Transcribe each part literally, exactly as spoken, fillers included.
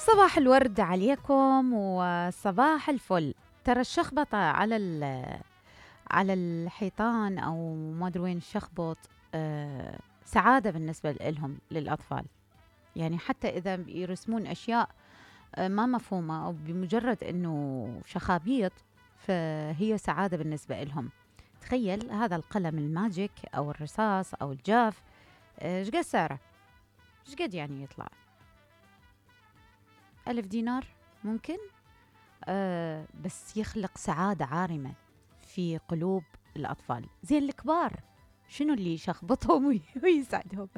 صباح الورد عليكم وصباح الفل. ترى الشخبطة على على الحيطان أو ما أدري وين الشخبط آه سعادة بالنسبة لهم للأطفال. يعني حتى إذا يرسمون أشياء آه ما مفهومة أو بمجرد أنه شخابيط فهي سعادة بالنسبة لهم. تخيل هذا القلم الماجيك أو الرصاص أو الجاف ايش قد سعره؟ ايش قد يعني يطلع؟ ألف دينار ممكن؟ آه بس يخلق سعادة عارمة في قلوب الأطفال. زين الكبار شنو اللي يشخبطهم ويسعدهم؟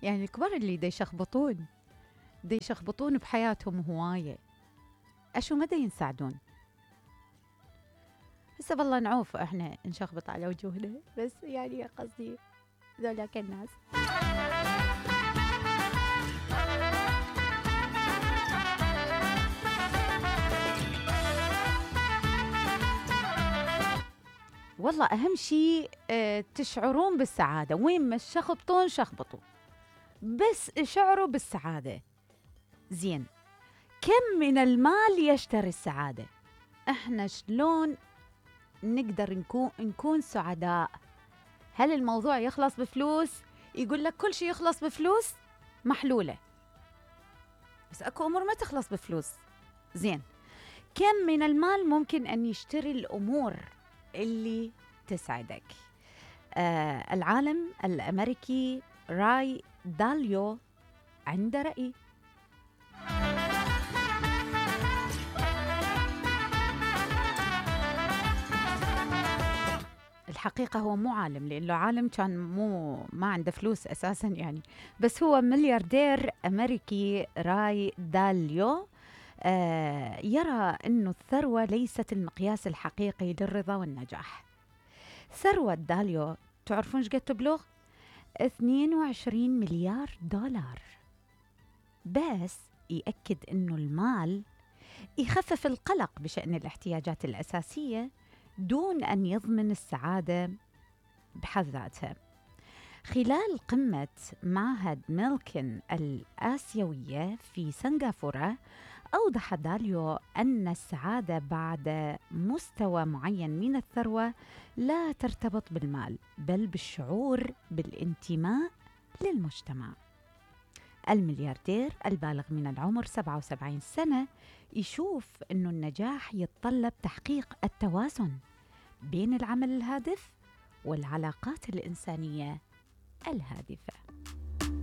يعني الكبار اللي دا يشخبطون دا يشخبطون بحياتهم هواية، أشو مدى ينسعدون؟ هسه بالله نعوف احنا نشخبط على وجوهنا، بس يعني قصدي ذولاك الناس. والله أهم شيء اه تشعرون بالسعادة، وين ما شخبطون شخبطوا، بس شعروا بالسعادة. زين، كم من المال يشتري السعادة؟ احنا شلون نقدر نكون نكون سعداء؟ هل الموضوع يخلص بفلوس؟ يقول لك كل شيء يخلص بفلوس، محلولة، بس اكو امور ما تخلص بفلوس. زين، كم من المال ممكن ان يشتري الامور اللي تسعدك؟ آه العالم الامريكي راي داليو عنده رأي. الحقيقة هو مو عالم، لأنه عالم كان مو ما عنده فلوس أساساً يعني، بس هو ملياردير أمريكي راي داليو آه يرى أنه الثروة ليست المقياس الحقيقي للرضا والنجاح. ثروة داليو تعرفون ايش قد تبلغ؟ اثنين وعشرين مليار دولار. بس يأكد أنه المال يخفف القلق بشأن الاحتياجات الأساسية دون أن يضمن السعادة بحد ذاتها. خلال قمة معهد ميلكن الآسيوية في سنغافورة، أوضح داليو أن السعادة بعد مستوى معين من الثروة لا ترتبط بالمال، بل بالشعور بالانتماء للمجتمع. الملياردير البالغ من العمر سبعة وسبعين سنة يشوف أنه النجاح يتطلب تحقيق التوازن بين العمل الهادف والعلاقات الإنسانية الهادفة.